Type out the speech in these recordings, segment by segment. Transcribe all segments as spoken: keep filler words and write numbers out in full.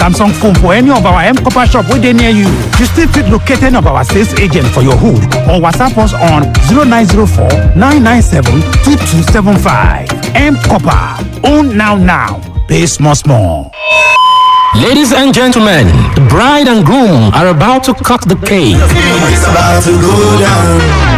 Samsung phone for any of our M Copper shop wey dey near you. You still fit locate any of our sales agent for your hood or WhatsApp us on zero nine zero four nine nine seven two two seven five. M Copper, own now now, pay small small. Ladies and gentlemen, the bride and groom are about to cut the cake. It's about to go down.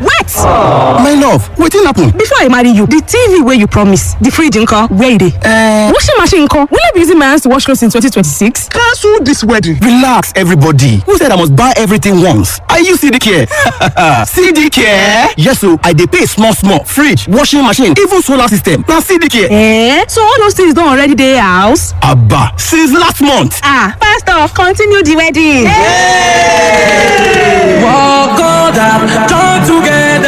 Wait! My love, wetin happen? Before I marry you, the T V wey you promise, the fridge nko, where e dey? Uh, washing machine nko, will I be using my hands to wash clothes in twenty twenty-six? Cancel this wedding. Relax, everybody. Who said I must buy everything once? Are you C D Care? C D Care? Yes o, I dey pay small small. Fridge, washing machine, even solar system. Na C D Care. Eh? So all those things don already dey house? Abba, since last month. Ah, first off, continue the wedding. Hey! Walk on down, join together.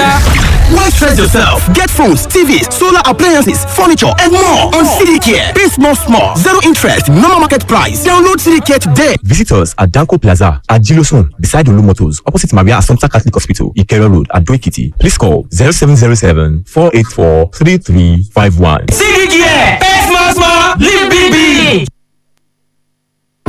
Why stress yourself? Get phones, T Vs, solar appliances, furniture, and more on C D Care. Pay small, small. Zero interest, normal market price. Download C D Care today. Visit us at Danko Plaza at Gilosun, beside Olu Motors, opposite Maria Assumpta Catholic Hospital, Ikero Road, at Ekiti. Please call zero seven zero seven four eight four three three five one. C D Care. Pay small, small. Live big, big.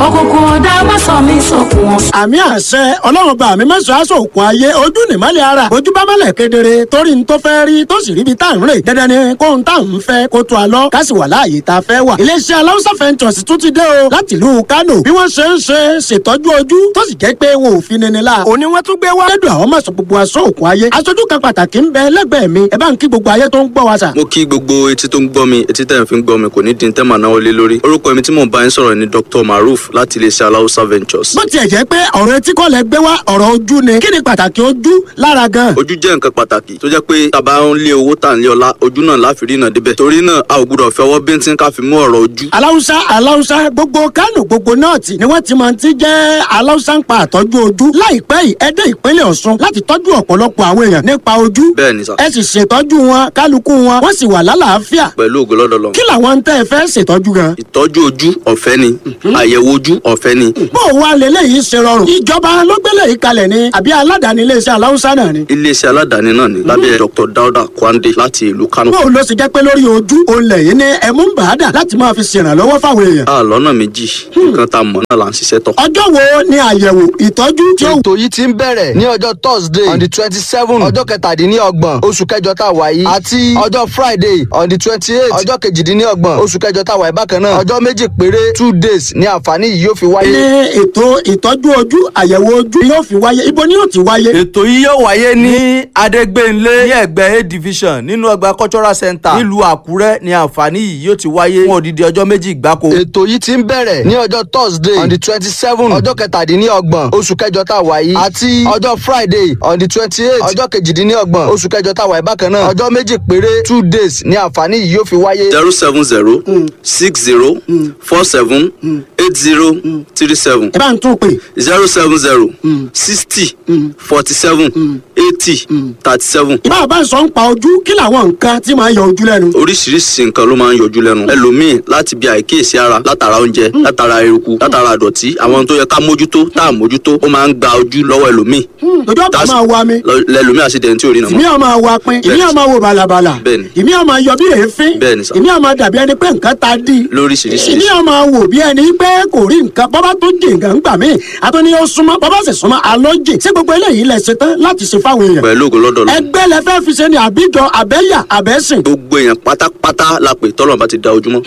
Òkùnkùn ọ̀dà má sọ mí sókun wọn. Àmì àṣẹ Ọlọ́run bá mi mẹ́sàn-án aṣọ òkun ayé. Ojú nìmọ́lẹ̀ ara. Ojú bá mọ́lẹ̀ kedere torí n tó fẹ́ rí tó sì ríbi tá à ń rè. Dandan ni kóhun tá à ń fẹ́ kó tó a lọ ká sì wà láàyè tá a fẹ́ wà. Iléeṣẹ́ Aláùsá Ventures tún ti dé o láti ìlú Kánò. Bí wọ́n ṣe ń ṣe ṣètọ́jú ojú tó sì jẹ́ pé wọn ò fi nini la. Òní wọ́n tún gbé wá. Lẹ́dùn àwọn mọ̀sán gbogbo aṣọ òkun ayé. Aṣojú kan pàtàkì ń bẹ lẹ́gbẹ̀ẹ́ mi. Ẹ bá ń kí gbogbo ayé tó ń gbọ́ wa sà. Mo kí gbogbo etí tó ń gbọ́ mi. Etí tẹ̀ ń fi ń gbọ́ mi kò ní di tẹ́ màá náwó lé lórí. Orúkọ mi tí mò ń bá yín sọ̀rọ̀ ni Doctor Maruf láti iléeṣẹ́ Aláùsá Ventures. Bó tiẹ̀ jẹ́ pé ọ̀rọ̀ etí kọ́ lẹ gbé wá, ọ̀rọ̀ ojú ni, kí ni pàtàkì ojú lára gan? Ojú jẹ́ nǹkan pàtàkì tó jẹ́ pé tàbá ń lé owó, tà ń lé ọlá, ojú náà láfi rí náà débẹ̀. Torí náà, a ò gbúdọ̀ fi ọwọ́ bíntín ká fi mú ọ̀rọ̀ ojú. Aláùsá, Aláùsá, gbogbo Kánò, gbogbo nọ́ọ̀tì ni wọ́n ti máa ti jẹ́ Aláùsá ń pa àtọ́jú ojú. Láìpẹ́ yìí, ẹ dé ìpínlẹ̀ Ọ̀ṣun láti tọ́jú ọ̀pọ̀lọpọ̀ àwọn èèyàn nípa ojú. Bẹ́ẹ̀ ni sà. Ẹ sì ṣètọ́jú wọn, kálukú wọn wọ́n sì wà lálàáfíà. Pẹ̀lú ògo lọ́dọ̀ lọ. Kí làwọn ń tẹ́ ẹ fẹ́ ṣètọ́jú gan? Ìtọ́jú ojú ọ̀fẹ́ ni, àyẹ̀wò ojú ọ̀fẹ́ ni. Bó o wá leléyìí ṣe rọrùn? Ìjọba ló gbélé yìí kalẹ̀ ni àbí aládàáni iléeṣẹ́ Aláùsá náà ni? Iléeṣẹ́ aládàáni náà ni lábẹ́ Doctor Dauda Kwande láti ìlú Kano. Bó o lọ sì jẹ́ pé lórí ojú olè yìí ní ẹ̀mú ń bàá dà láti máa fi ṣèrànlọ́wọ́ fáwọn èèyàn? A lọ́nà méjì, nǹkan tá a mọ̀ náà là ń ṣiṣẹ́ tọ̀. Ọjọ́ wo ni àyẹ̀wò ìtọ́jú tí ó Ètò yìí ti ń bẹ̀rẹ̀ ní ọjọ́ Thursday on the twenty seven, ọjọ́ kẹtàdínlọ́gbọ̀n oṣù kẹjọ tá a wà yìí, àti ọjọ́ Friday on the twenty eight, ọjọ́ kejìdínlọ́gbọ̀n oṣù kẹjọ tá a wà yìí bákan náà. Ọjọ́ méjì péré, two days, ní àǹfààní yìí yóò fi wáyé. Ní ètò ìtọ́jú ojú, àyẹ̀wò ojú yóò fi wáyé, ibo ni yóò ti wáyé? Ètò yìí yóò wáyé ní Adégbénlé, ní ẹ̀gbẹ́ A Division, nínú ọgbà Cultural Center nílùú Àkúrẹ́ ní àǹfààní yìí yóò ti wáyé fún odidi ọjọ́ méjì gbáko. Ètò yìí ti ń bẹ̀rẹ̀ ní ọjọ́ Thursday on the twenty seven, ọjọ́ kẹtàdínlọ́gbọ̀n oṣù kẹjọ tá a wà yìí, àti ọjọ́ Friday on the twenty eight, ọjọ́ kejìdínlọ́gbọ̀n oṣù kẹjọ tá a wà yìí bákan náà. Ọjọ́ méjì péré, two days, ní àǹfààní yìí yóò fi wáyé. zero seven zero six zero four seven eight zero three seven. Ẹ bá ń tún pè. zero seven zero sixty forty seven eighty thirty seven. Ìbá bá ń sọ ń pa ojú, kí làwọn nǹkan tí máa ń yọ ojú lẹ́nu? Oríṣiríṣi nǹkan ló máa ń yọjú lẹ́nu. Ẹlòmíì, láti bí àìkíyèsí ara, látara oúnjẹ, látara eruku, látara àdọ̀tí, àwọn tó yẹ ká mójútó tá à mójútó, ó máa ń gba ojú lọ́wọ́ ẹlòmíì. Ojú ọ̀pá máa wa mi. Lẹlòmíì àṣìdẹ̀ntì tí ò rí nà Ìmí mọ́. ọ̀ máa wa pin, ìmí ọ̀ máa wo bàlàbàlà. Bẹ́ẹ̀ni. Ìmí ọ̀ máa yọ bí èéfín. Bẹ́ẹ̀ni sà. Ìmí ọ̀ máa dàbí ẹni pé nǹkan ta dí. Lóríṣiríṣi. Ìmí ọ̀ máa wò bí ẹni pé kò rí nǹkan. Bọ́bá tó jì nǹkan ń gbà mí, àtúní ó súnmọ́, bọ́bá sì súnmọ́ alọ́ jì. Ṣé gbogbo eléyìí lẹ ṣe tán láti ṣe fáwọn èèyàn? Pẹ̀lú ògo lọ́dọ̀ lọ. Ẹgbẹ́ lẹ fẹ́ fi ṣe ni àbíjọ, àbẹ́yà, àbẹ́sìn? Gbogbo èèyàn pátápátá la pè tọ́lọ̀ bá ti da ojúmọ́.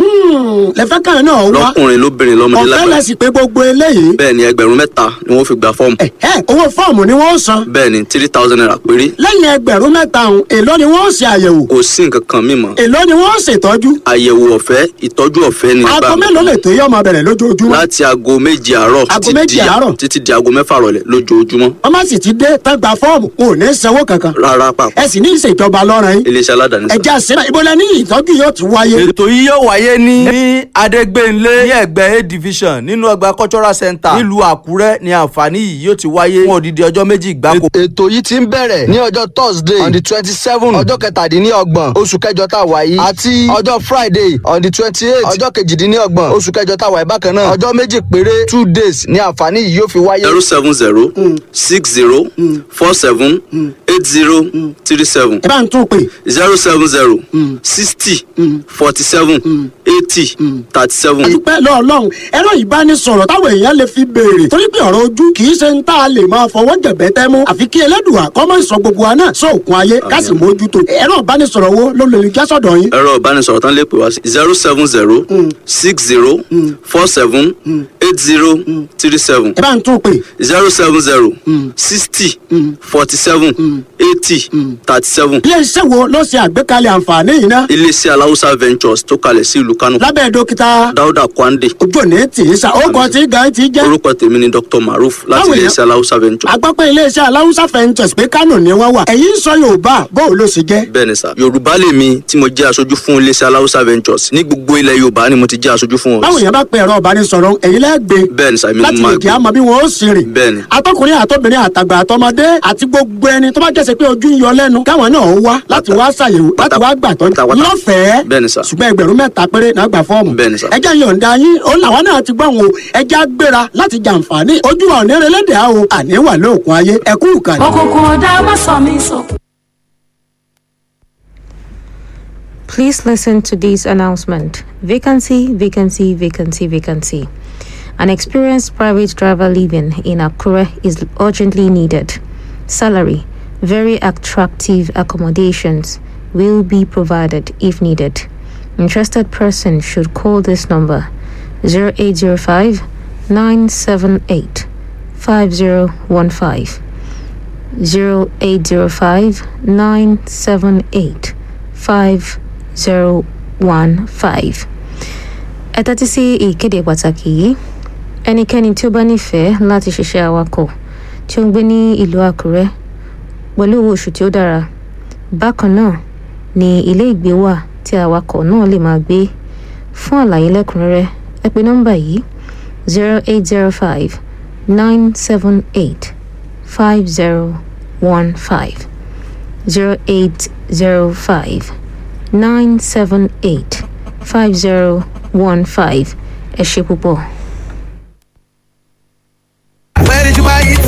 Lẹ fẹ́ kàn náà wá. Lọ́kùnrin, lóbìnrin, lọ́mọdé, Ọ̀fẹ́ lágbàá. lẹ sì pé gbogbo eléyìí? Bẹ́ẹ̀ ni, ẹgbẹ̀rún mẹ́ta ni wọ́n fi gba fọ́ọ̀mù. Ẹ owó fọ́ọ̀mù ni wọ́n san? Bẹ́ẹ̀ ni, three thousand naira péré. Lẹ́yìn ẹgbẹ̀rún mẹ́ta ọ̀hún, èló ni wọ́n ṣe àyẹ̀wò? Kò sí nǹkan kan mímọ́. Èló ni wọ́n ṣètọ́jú? Àyẹ̀wò ọ̀fẹ́, ìtọ́jú ọ̀fẹ́ ni. Aago mélòó lè tó yọ máa bẹ̀rẹ̀ lójoojúmọ́? Láti aago méje àárọ̀ Aago títí méje di- àárọ̀. títí di aago mẹ́fà rọ̀lẹ́ lójoojúmọ́. Wọ́n má sì ti dé tán gba fọ́ọ̀mù, wọn ò ní sanwó kankan? Rárá pàpà. Ẹ sì ní ìṣèjọba lọ́rọ̀ yín. Iléeṣẹ́ aládàáni sà. Ẹ̀jẹ̀ àṣírà, ibo lẹ ní ìtọ́jú yóò ti wáyé? Ètò yìí yóò wáyé ní ní Adégbénlé, ní ẹ̀gbẹ́ A Division, nínú ọgbà Cultural Center nílùú Àkúrẹ́ ní àǹfààní yìí yóò ti wáyé fún odidi ọjọ́ méjì gbáko. Ètò yìí ti ń bẹ̀rẹ̀ ní ọjọ́ Thursday on the twenty seven, ọjọ́ kẹtàdínlọ́gbọ̀n oṣù kẹjọ tá a wà yìí, àti ọjọ́ Friday on the twenty eight, ọjọ́ kejìdínlọ́gbọ̀n oṣù kẹjọ tá a wà yìí bákan náà. náà ọjọ́ méjì péré two days ni àǹfààní yìí yóò fi wáyé. zero seven zero six zero four seven eight zero three seven Ẹ bá ń tún pè. zero seven zero sixty forty seven eighty thirty seven. Dúpẹ́ lọ́ọ́ Ọlọ́run. Ẹ̀rọ ìbánisọ̀rọ̀ táwọn èèyàn lè fi béèrè, torí pé ọ̀rọ̀ ojú kì í ṣe ń tá a lè máa fọwọ́ jẹ̀bẹ́ tẹ́ mú, àfi kí Ẹlẹ́dùà kó má sọ gbogbo wa náà sóòkun ayé, ká sì mójútó. Ẹ̀rọ ìbánisọ̀rọ̀ wo ló lè já sọ̀dọ̀ yín? Ẹ̀rọ ìbánisọ̀rọ̀ tán lè pè wá sí zero seven zero six zero four seven eight zero three seven. Ẹ bá ń tún pè. zero seven zero sixty forty seven eighty thirty seven. Ilé iṣẹ́ wo ló ṣe àgbékalẹ̀ àǹfààní yìí ná? Iléeṣẹ́ Aláwùsá Ventures tó kalẹ̀ sí ìlú Kánò. Lábẹ́ dókítà Dáúdà Kwande. Ojú òní tì í sa ó kọ tí gan ti jẹ́. Orúkọ tèmi ni Doctor Maruf láti Báwo ni- iléeṣẹ́ Aláwùsá Ventures. A gbọ́ pé iléeṣẹ́ Aláwùsá Ventures pé Kánò ni wọ́n wà. Ẹ̀yin sọ Yorùbá, bó o ló ṣe jẹ́? Bẹ́ẹ̀ ni sà, Yorùbá lèmi tí mo jẹ́ aṣojú fún iléeṣẹ́ Aláwùsá Ventures. Ní gbogbo ilẹ̀ Yorùbá ni mo ti jẹ́ aṣojú fún wọn. Báwo yẹn bá pe ẹ̀rọ ìbánisọ̀rọ̀, ẹ̀yin lẹ́gbẹ̀ẹ́ Bẹ́ẹ̀ ni sà, èmi ni láti mo lè máa jẹ́ àmọ́ bí wọ́n ó sì rìn? Bẹ́ẹ̀ ni. Atọ́kùnrin àtọ́bìnrin àtàgbà àtọmọdé àti gbogbo ẹni tó bá jẹ́sẹ̀ pé ojú ń yọ lẹ́nu, káwọn náà ó wá láti wá ṣàyẹ̀wò, láti wá gbàtọ́ lọ́fẹ̀ẹ́. Bẹ́ẹ̀ ni sà. Ṣùgbọ́n ẹgbẹ̀rún mẹ́ta péré náà gbà fọ́ọ̀mù. Bẹ́ẹ̀ ni sà. Ẹjẹ́ yọ̀ǹda yín ó làwọn náà ti gbọ́n o. Ẹjẹ́ á gbéra láti jàǹfààní ojú wa òní relédè á o, àní wà lóògùn ayé. Ẹ̀kú ìkànnì. Òkùnkùn ọ̀dà má sọ mí sókun. Please listen to this announcement. Vacancy, vacancy, vacancy, vacancy. An experienced private driver living in Akure is urgently needed. Salary, very attractive accommodations will be provided if needed. Interested person should call this number zero eight zero five nine seven eight five zero one five. zero eight zero five nine seven eight five zero one five. Ẹ tẹ́tí sí ìkéde pàtàkì yìí. Ẹnikẹ́ni tí ó bá nífẹ̀ẹ́ láti ṣiṣẹ́ awakọ̀ tí ó ń gbé ní ìlú Àkúrẹ́ pẹ̀lú owó oṣù tí ó dára, bákan náà ni ilé ìgbé wà tí awakọ̀ náà lè máa gbé. Fún àlàyé lẹ́kùnrẹ́rẹ́, ẹ pe nọ́mbà yìí zero eight zero five nine seven eight five zero one five, zero eight zero five nine seven eight five zero one five. Ẹ ṣe púpọ̀. Where did you buy it?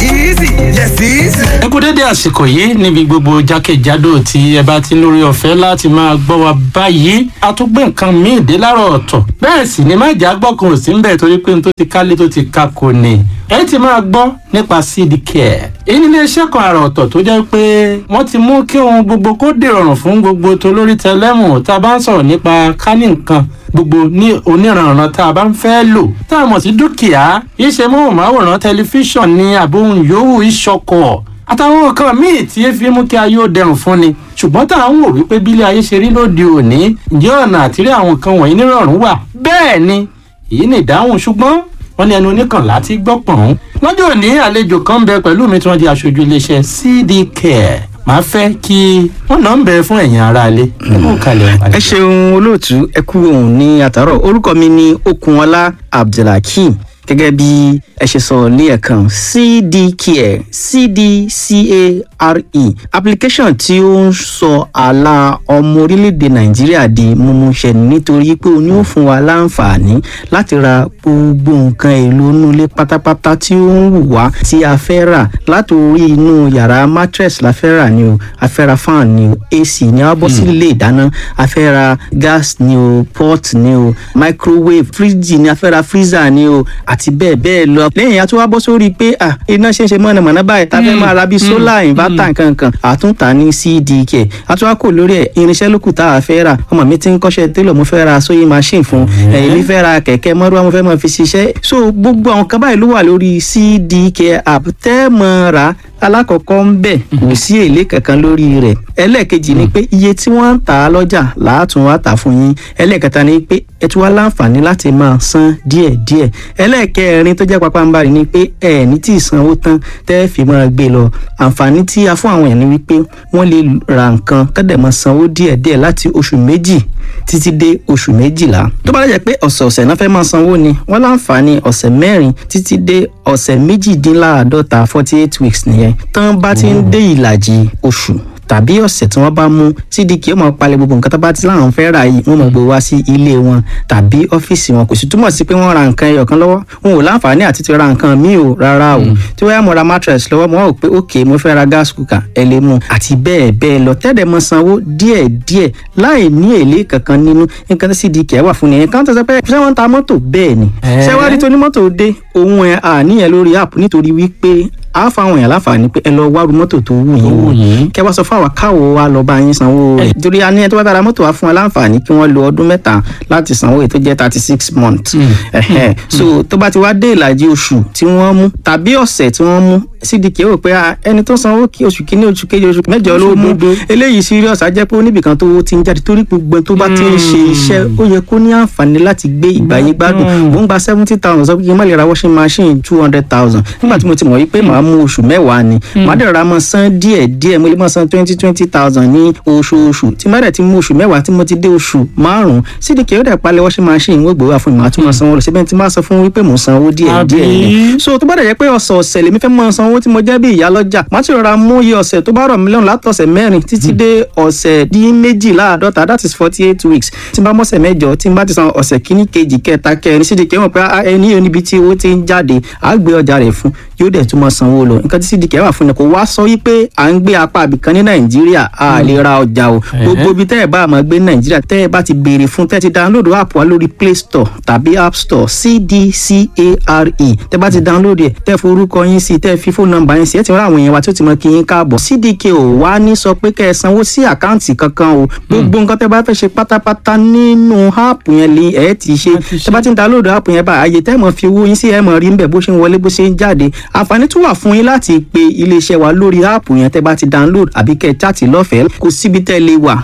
Easy. Yes, easy. Ẹ kú dédé àsìkò yìí níbi gbogbo jákèjádò tí ẹ bá ti ń lórí ọ̀fẹ́ láti máa gbọ́ wa báyìí. A tún gbé nǹkan míì dé láàárọ̀ ọ̀tọ̀, bẹ́ẹ̀ sì ni májà gbọ́kàn ò sí ń bẹ̀, torí pé n tó ti kálé tó ti ka kò ní. Ẹ ti máa gbọ́ nípa C D Care. Èyí ni iléeṣẹ́ kan àrà ọ̀tọ̀ tó jẹ́ pé wọ́n ti mú kí ohun gbogbo kó dìrọ̀rùn fún gbogbo tolórí tẹlẹ́mù. Tá a bá ń sọ̀rọ̀ nípa kání nǹkan gbogbo ní oníranran tá a bá ń fẹ́ lò tá a mọ̀ sí dúkìá, iṣẹ́ móhùnmáwòrán, tẹlifíṣàn ní àbóhùn yòówù, ìṣọkọ̀ àtàwọn nǹkan míì tí e fi mú kí ayé ó dẹrùn fún ni. Ṣùgbọ́n tá à ń wò wípé bílé ayé ṣe rí lóde òní, ǹjẹ́ ọ̀nà àtìrí àwọn nǹkan wọ̀nyí nírọ̀rùn wà? Bẹ́ẹ̀ ni, èyí ni ìdáhùn. Ṣùgbọ́n wọ́n ní ẹnu oníkànlá ti gbọ́ pọ̀n. Lọ́jọ́ òní, àlejò kan ń bẹ pẹ̀lú mi tí wọ́n di aṣojú iléeṣẹ́ C D Care. Màá fẹ́ kí wọ́n náà ń bẹ fún ẹ̀yin aráalé. Ẹ kú kalẹ̀. Ẹ ṣeun olóòtú, ẹ kú òun ní àtàrọ. Orúkọ mi ni Okunọlá Abdulhakeem. Gẹ́gẹ́ bí ẹ ṣe sọ ní ẹ̀kan, C D Care, C D C A R E, application tí ó ń sọ àlà ọmọ orílẹ̀-èdè Nàìjíríà di mímúṣẹ, nítorí pé ó ní ó fún wa láǹfààní láti ra gbogbo nǹkan èlò inú ilé pátápátá tí ó ń wù wá tí a fẹ́ rà. Látòrí inú yàrá, mattress la fẹ́ rà ni o, a fẹ́ ra fan ni o, A C ni, a bọ́ sí ilé ìdáná, a fẹ́ ra gas ni o, pot ni o, microwave, fridge ni, a fẹ́ ra freezer ni o, àti bẹ́ẹ̀ bẹ́ẹ̀ lọ. Lẹ́yìn a tún wá bọ́ sórí pé ah, iná ṣe ń ṣe mọ̀nàmọ́ná báyìí, tá a fẹ́ máa ra bíi solar inverter nkankan, àtúntà ní C D K. A tún wá kò lórí ẹ̀, irinṣẹ́ lókù tá a fẹ́ rà. Ọmọ mi ti ń kọ́ṣẹ́ télọ̀, mo fẹ́ ra sewing machine fún ẹ̀. Èmi fẹ́ ra kẹ̀kẹ́ mọ́rúwá, mo fẹ́ máa fi ṣiṣẹ́. So gbogbo àwọn kan báyìí ló wà lórí C D K app tẹ́ mọ́ ra. Alákọ̀ọ́kọ́ ń bẹ̀, kò sí èlé kankan lórí rẹ̀. Ẹlẹ́ẹ̀kejì ni pé iye tí wọ́n ń tà á lọ́jà làátún wá tà fún yín. Ẹlẹ́ẹ̀kẹta ni pé ẹ tún wá láǹfààní láti máa san díẹ̀díẹ̀. Ẹlẹ́ẹ̀kẹrin tó jẹ́ pàpàǹbarì ni pé ẹ ní tí ì sanwó tán tẹ́ fi máa gbé lọ. Àǹfààní tí a fún àwọn èèyàn ni wípé wọ́n lè ra nǹkan kọ́dẹ̀ máa sanwó díẹ̀díẹ̀ láti oṣù méjì títí dé oṣù méjìlá. Tó bá dẹ̀ jẹ́ pé ọ̀sẹ̀ọ̀sẹ̀ náà fẹ́ máa sanwó ni, wọ́n láǹfààní ọ̀sẹ̀ mẹ́rin títí dé ọ̀sẹ̀ méjìdínláàádọ́ta, forty eight weeks nìyẹn. Tán bá ti ń dé ìlàjì oṣù tàbí ọ̀sẹ̀ tí wọ́n bá mú, C D K ó máa palẹ̀ gbogbo nǹkan tó bá ti láwọn fẹ́ rà yìí, wọ́n máa gbé wá sí ilé wọn tàbí ọ́fíìsì wọn. Kò sì túmọ̀ sí pé wọ́n ra nǹkan ẹyọ kan lọ́wọ́, wọn ò láǹfààní àti ti ra nǹkan míì o, rárá o. Tí wọ́n yá mo ra mattress lọ́wọ́, mo wá wò pé ok, mo fẹ́ ra gas cooker, ẹ lè mú àti bẹ́ẹ̀ bẹ́ẹ̀ lọ, tẹ́lẹ̀ mọ sanwó díẹ̀ díẹ̀ láì ní èlé kankan nínú. Nǹkan tí C D K wà fún nìyẹn. Kan tó sọ pé ṣé wọ́n ń ta mọ́tò? Bẹ́ẹ̀ ni. Ṣé wàá rí tonímọ́tò dé òun ẹ̀ àníyàn lórí app, nítorí wípé a fáwọn èèyàn láǹfààní pé ẹ lọ wárú mọ́tò tó wù yín wò, kẹ wá sọ fún àwa káwo wa lọ bá yín sanwó rẹ̀, torí a ní ẹni tó bá bára mọ́tò wa fún wa láǹfààní kí wọ́n lo ọdún mẹ́ta láti sanwó èyí tó jẹ́ thirty six months. Ẹ̀hẹ́n. So tó bá ti wá dé ìlàjì oṣù tí wọ́n mú tàbí ọ̀sẹ̀ tí wọ́n mú, C D K rò pé ah, ẹni tó sanwó kí oṣù kínní, oṣù kejì, oṣù mẹ́jọ ló mú, eléyìí serious, á jẹ́ pé ó níbìkan tó ti ń jáde, torí gbogbo ẹni tó bá ti ń ṣe iṣẹ́, ó yẹ kó ní àǹfààní láti gbé ìgbáyé gbádùn. Mò ń gba seventy thousand, sọ pé kí n má lè ra washing machine two hundred thousand, nígbà tí mo ti mọ̀ wípé màá mú oṣù mẹ́wàá ni, màá dẹ̀ ra mọ́ san díẹ̀ díẹ̀, mo lè mọ́ san twenty twenty thousand ní oṣooṣù. Tí má dẹ̀ ti mú oṣù mẹ́wàá, tí mo ti dé oṣù márùn-ún, C D K ó dẹ̀ palẹ̀ washing machine, wọ́n gbé wá fún mi, màá tún máa sanwó lọ síbẹ̀. Tí má sọ fún wípé mò ń sanwó díẹ̀ díẹ̀ ni. So tó bá dẹ̀ jẹ́ pé ọ̀sọ̀ọ̀sẹ̀ lèmi fẹ́ máa sanwó tí mo jẹ́ bí ìyá lọ́jà, màá ti rọra mú iye ọ̀sẹ̀ tó bá rọ̀ mí lọ́rùn látọ̀sẹ̀ mẹ́rin títí dé ọ̀sẹ̀ dín méjìláàdọ́ta, that is forty eight weeks. Tí n bá mọ̀sẹ̀ mẹ́jọ, tí n bá ti san ọ̀sẹ̀ kíní, kejì, kẹta, kẹrin, C D K mọ̀ pé ah, ẹni yóò níbi tí owó ti ń jáde, á gbé ọjà rẹ̀ fún, yóò dẹ̀ tún máa sanwó lọ. Nǹkan tí C D K wà fún ni kò wá sọ wípé à ń gbé apá àbìkan ní Nàìjíríà, a lè ra ọjà o. Gbogbo ibi tẹ́ ẹ bá máa gbé ní Nàìjíríà, tẹ́ ẹ bá ti béèrè fún, tẹ́ ẹ ti download app wa lórí Play Store tàbí App Store, C D C A R E, tẹ́ bá ti download ẹ̀, tẹ́ forúkọ yín sí, tẹ́ fi fóònù nọ́mbà yín sí, ẹ ti rán àwọn èèyàn wa tí ó ti mọ kí yín káàbọ̀. C D K ò wá ní sọ pé kẹ́ ẹ sanwó sí àkáǹtì kankan o. Gbogbo nǹkan tẹ́ bá fẹ́ ṣe pátápátá nínú app yẹn lè ẹ ti ṣe. Tẹ́ bá ti ń download app yẹn bá, àyè tẹ́ mọ̀ fi owó yín sí, ẹ mọ̀ rí ń bẹ̀ bó ṣe ń wọlé, bó ṣe ń jáde. Àǹfààní tún wà fún yín láti pe iléeṣẹ́ wa lórí app yẹn tẹ́ bá ti download, àbí kẹ́ ẹ chat lọ́fẹ̀ẹ́. Kò síbi tẹ́ lè wà.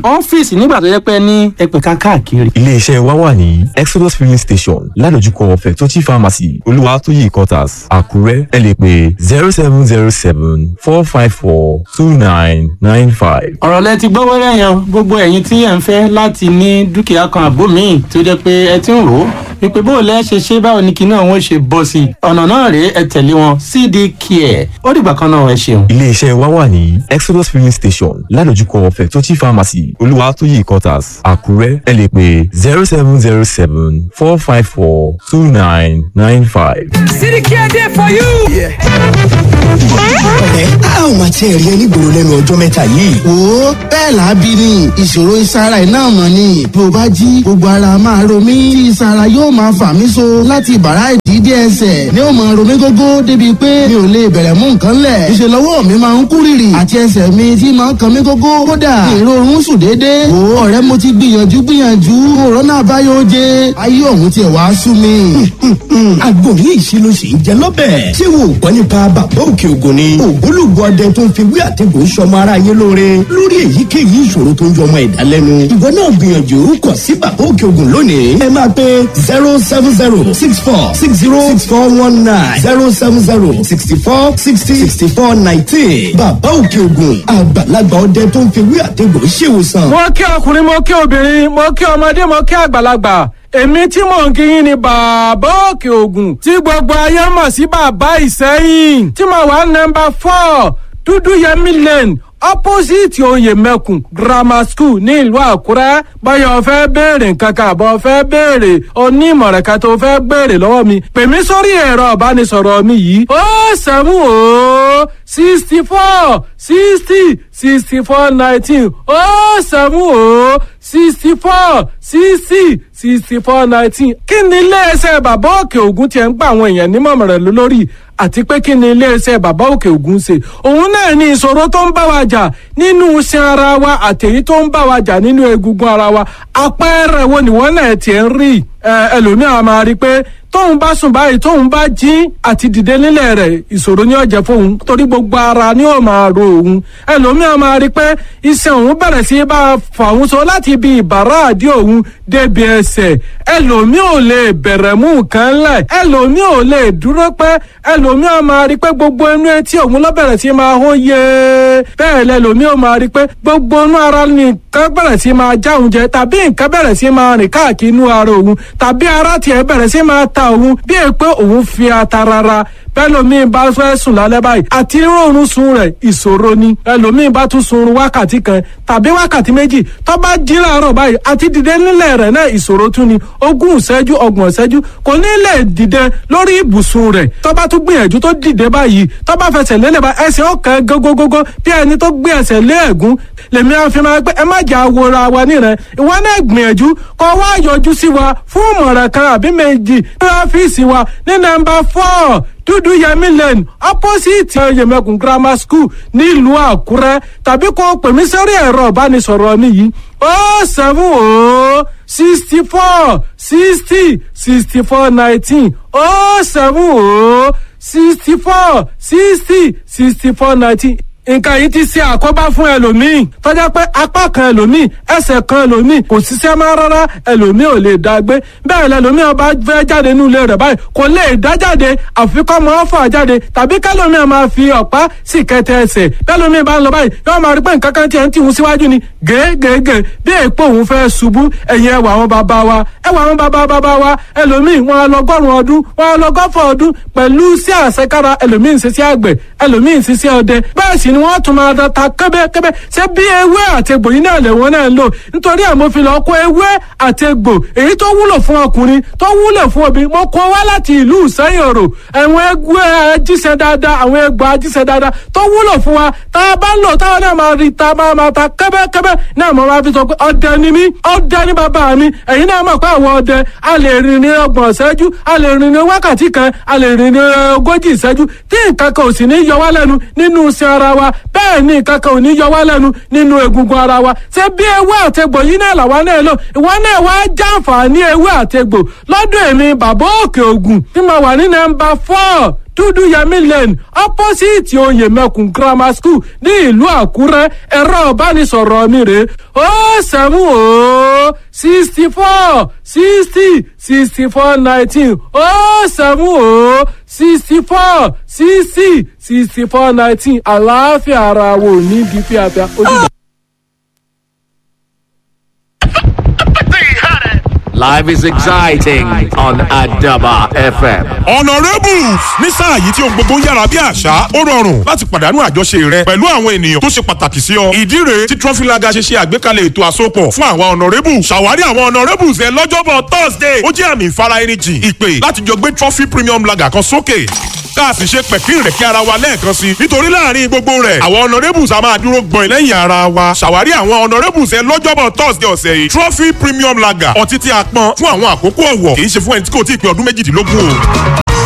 Ọ́fíìsì nígbà tó jẹ́ pé ní ẹgbẹ̀ka káàkiri. Iléeṣẹ́ wa wà ní Exodus Filling Station, ládojúkọ Fẹ̀tọ́chì Pharmacy, Olúwatóyè Quarters, Àkúrẹ́. Ẹ lè pè zero seven zero seven four five four two nine nine five. Ọ̀rọ̀ lẹ ti gbọ́ wẹ́rẹ́ yẹn. Gbogbo ẹ̀yin tí ẹ̀ ń fẹ́ láti ní dúkìá kan àbó míì tó jẹ́ pé ẹ ti ń rò ó wípé bó o lẹ́ ṣe ṣe, báwo ni kinní ọ̀hún ṣe bọ́ sí i, ọ̀nà náà rèé, ẹ tẹ̀lé wọn, C D Care. Ó dìgbà kan náà, ẹ ṣeun. Iléeṣẹ́ wa wà ní Exodus Filling Station, ládojúkọ Fẹ̀tọ́chì Pharmacy, Olúwatóyè Quarters, Àkúrẹ́. Ẹ lè pè zero seven zero seven four five four two nine nine five. C D K dey for you. Ọ̀rẹ́, a ò máa tiẹ̀ rí ẹ nígboro lẹ́nu ọjọ́ mẹ́ta yìí. Wo, bẹ́ẹ̀ làábí ni ìṣòro ìsara iná mọ̀ ni. Bí o bá jí, gbogbo ara máa ro mí tí ìsara yóò máa fà mí so láti ìbàrá ìdí dé ẹsẹ̀ ní ó máa ro mí gógó, débi pé mi ò lè bẹ̀rẹ̀ mú nǹkan lẹ̀. Ìṣe lọ́wọ́ mi máa ń kú rìrì àti ẹsẹ̀ mi tí máa ń kan mí gógó, kódà ìrorun sùn déédéé. Wo ọ̀rẹ́, mo ti gbìyànjú gbìyànjú, òrọ́nà àbáyọ oje, ayé ọ̀hún tiẹ̀ wá sú mi. Àgbo yìí ṣe ló ṣe ń jẹ lọ́bẹ̀. Ṣé wo ò gbọ́ nípa Bàbá Òkè Ògùn ni? Ògbólógbò ọdẹ tó ń fi wí àtẹ̀gùn sọmọ ara yé lóore lórí èyíkéyìí ìṣòro tó ń yọmọ ẹ̀dá lẹ́nu. Ìwọ náà gbìyànjú kàn sí Bàbá Òkè Ògùn lónìí. Ẹ máa pe zero seven zero six four six zero six four one nine, zero seven zero sixty four sixty sixty four nineteen. Bàbá Òkè Ògùn, àgbàlagbà ọdẹ tó ń fi wí àtẹ̀gùn ṣèwòsàn. Mo kí ọkùnrin, mo kí obìnrin, mo kí ọmọdé, mo kí àgbàlagbà. Èmi tí mò ń kí yín ni Bàbá Òkè Ògùn, tí gbogbo ayé mọ̀ sí Bàbá Ìsẹ́yìn, tí mo wà nọ́mbà four, Dúdú Yẹmí Lane, opposite Oyè Mẹ́kùn Grammar School ní ìlú Àkúrẹ́. Báyọ̀ fẹ́ béèrè nǹkan kan àbọ̀ fẹ́ béèrè onímọ̀ràn kan tó fẹ́ béèrè lọ́wọ́ mi, pè mí sórí ẹ̀rọ ìbánisọ̀rọ̀ mi yìí: ó seven ó sixty four sixty sixty four nineteen, ó seven ó sixty four sixty sixty four nineteen. Kí ni iléeṣẹ́ Bàbá Òkè Ògùn tiẹ̀ ń gba àwọn èèyàn nímọ̀ràn lórí, àti pé kí ni iléeṣẹ́ Bàbá Òkè Ògùn ṣe? Òun náà ní ìṣòro tó ń bá wa jà nínú iṣan ara wa àtèyí tó ń bá wa jà nínú egungun ara wa. Àpẹẹrẹ wo nìwọ́n náà tiẹ̀ ń rí? Ẹlòmíràn máa rí i pé tóun bá sùn báyìí, tóun bá jí, àti dìde nílẹ̀ rẹ̀, ìṣòro ni ó jẹ́ fóun, torí gbogbo ara ni ó máa ro òun. Ẹlòmíràn máa rí i pé iṣan òun bẹ̀rẹ̀ sí bá a fà òun so láti ibi ìbàrá àdí òun débi ẹsẹ̀. Ẹlòmíì ò lè bẹ̀rẹ̀ mú nǹkan lẹ̀, ẹlòmíì ò lè dúró pẹ́. Ẹlòmíì máa rí i pé gbogbo inú etí òun ló bẹ̀rẹ̀ sí máa hó yé. Bẹ́ẹ̀ lẹlòmíì ò máa rí i pé gbogbo inú ara ni nǹkan bẹ̀rẹ̀ sí máa já òun jẹ, tàbí nǹkan bẹ̀rẹ̀ sí máa rìn káàkiri inú ara òun, tàbí ara tiẹ̀ bẹ̀rẹ̀ sí máa ta ta òun bí è pé òun fi ata rárá. Bẹ́lòmíì bá fẹ́ sùn lálẹ́ báyìí, àti rọrùn sun rẹ̀ ìṣòro ni. Ẹlòmíì bá tún sunrun wákàtí kan tàbí wákàtí méjì, tó bá jí láàárọ̀ báyìí, àti dìde nílẹ̀ rẹ̀ náà ìṣòro tún ni. Ogún ìṣẹ́jú, ọgbọ̀n ìṣẹ́jú kò ní lè dìde lórí ibùsùn rẹ̀. Tó bá tún gbìyànjú tó dìde báyìí, tó bá fẹsẹ̀ lélẹ̀ bá, ẹsẹ̀ ọ̀kan gógógógó bí ẹni tó gbé ẹsẹ̀ lé ẹ̀gún. Lèmi á fi máa pé ẹ má jà wòra wa nírẹ̀. Ìwọ náà gbìyànjú kó wá yọjú sí wa fún ìmọ̀ràn kan àbí méjì ní ọ́fíìsì wa ní nọ́mbà four, Dúdú Yẹmí Lane, opposite Yẹmẹkùn Grammar School, nílùú Àkúrẹ́, tàbí kó o pè mí sórí ẹ̀rọ ìbánisọ̀rọ̀ mi yìí: oh seven oh sixty four sixty sixty four nineteen, oh seven oh sixty four sixty sixty four nineteen. Nǹkan yìí ti ṣe àkóbá fún ẹlòmíì tọ́jà pé apá kan ẹlòmíì, ẹsẹ̀ kan ẹlòmíì kò ṣiṣẹ́ mọ́ rárá, ẹlòmíì ò lè dá gbé bẹ́ẹ̀. Lẹlòmíì ọba fẹ́ jáde nínú ilé rẹ̀ báyìí, kò lè dá jáde, àfi kó máa fà jáde, tàbí kẹlòmíì máa fi ọ̀pá sì kẹtẹ ẹsẹ̀. Bẹ́lòmíì bá ń lọ báyìí, yóò máa rí pé nǹkan kan tiẹ̀ ń tìhun síwájú ni gègègè, bí èèpo òun fẹ́ ṣubú. Ẹ̀yìn ẹwà àwọn bàbá wa, ẹwà àwọn bàbá bàbá wa, ẹlòmíì wọn á lọgọ́rùn ọdún, wọn á lọgọ́fọ̀ ọdún pẹ̀lú sí àṣekára. Ẹlòmíì ń ṣiṣẹ́ àgbẹ̀, ẹlòmíì ń ṣiṣẹ́ ọdẹ, bẹ́ẹ̀ sì ni wọ́n tún máa ta kẹ́bẹ́kẹ́bẹ́. Ṣé bí ewé àti egbò yìí náà lẹ̀wọ́n náà ń lò? Nítorí ẹ̀ mo fi lọ kó ewé àti egbò èyí tó wúlò fún ọkùnrin, tó wúlò fún obìnrin, mo kó wá láti ìlú Ìsẹ́yìn Òrò. Àwọn egbò ajíṣẹ́ dáadáa, àwọn egbò ajíṣẹ́ dáadáa tó wúlò fún wa, tá a bá ń lò táwọn náà máa rí ta máa máa ta kẹ́bẹ́kẹ́bẹ́ náà. Mo máa fi sọ pé ọdẹ ni mí, ọdẹ ni bàbá mi. Ẹ̀yin náà mọ̀ pé àwọn ọdẹ a lè rìn ní ọgbọ̀n ìṣẹ́jú, a lè rìn ní wákàtí kan, a lè rìn ní ogójì ìṣẹ́jú, tí nǹkan kan ò sì ní yọ wá lẹ́nu nínú iṣan ara wa. Bẹ́ẹ̀ ni nǹkan kan ò ní yọ wá lẹ́nu nínú egungun ara wa. Ṣé bí ewé àtegbò yìí náà làwa náà lò? Ìwọ náà wá jàǹfààní ewé àtegbò lọ́dọ̀ èmi Bàbá Òkè Ògùn tí mo wà ní nọ́mbà four, Dúdú Yẹmí Lane, opposite Oyèmẹkùn Grammar School, ní ìlú Àkúrẹ́. Ẹ̀rọ ìbánisọ̀rọ̀ mi rè: ó seven ó sixty four sixty sixty four nineteen, ó seven ó sixty four sixty sixty four nineteen. Àlàáfíà ara wo ní bí fíafíà ó dìgbà. Life is exciting on Adaba F M. Honourables, ní sáà yìí tí ohun gbogbo ń yára bí àṣá, ó rọrùn láti pàdánù àjọṣe rẹ pẹ̀lú àwọn ènìyàn tó ṣe pàtàkì sí ọ. Ìdí rèé tí Trophy Lager ṣe ṣe àgbékalẹ̀ ètò àsopọ̀ fún àwọn Honourables. Ṣàwárí àwọn Honourables ẹ lọ́jọ́bọ̀ Thursday. Ó jẹ́ àmì ìfara ẹni jìn, ìpè láti jọ gbé Trophy Premium Lager kan sókè, ká a sì ṣe pẹ̀kín rẹ̀ kí ara wa lẹ́ẹ̀kan sí. Nítorí láàrin gbogbo rẹ̀, àwọn Honourables a máa dúró gbọ̀n lẹ́yìn ara wa. Ṣàwárí àwọn Honourables ẹ lọ́jọ́bọ̀ Thursday ọ̀sẹ̀ yìí. Trophy Premium Lager, ọtí tí a pọn fún àwọn àkókò ọ̀wọ̀, kì í ṣe fún ẹni tí kò tí ì pé ọdún méjìdínlógún o.